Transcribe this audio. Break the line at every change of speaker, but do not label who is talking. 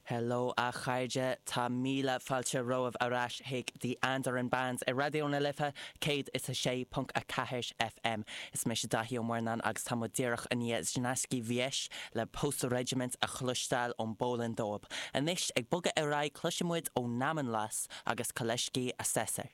Hello a chairde, tá míle fáilte romhaibh ar ais chuig The Andaran Band ar Raidió na Life 106.4 FM. Is mise Daithí Ó Murnáin agus tá muid díreach i ndiaidh Znasky Wieś le Post Regiment a chloisteáil ón bPólainn dóib. Anois, ag bogadh ar aghaidh, cloisfidh muid ó Neamonlas agus Koleżki Assessor.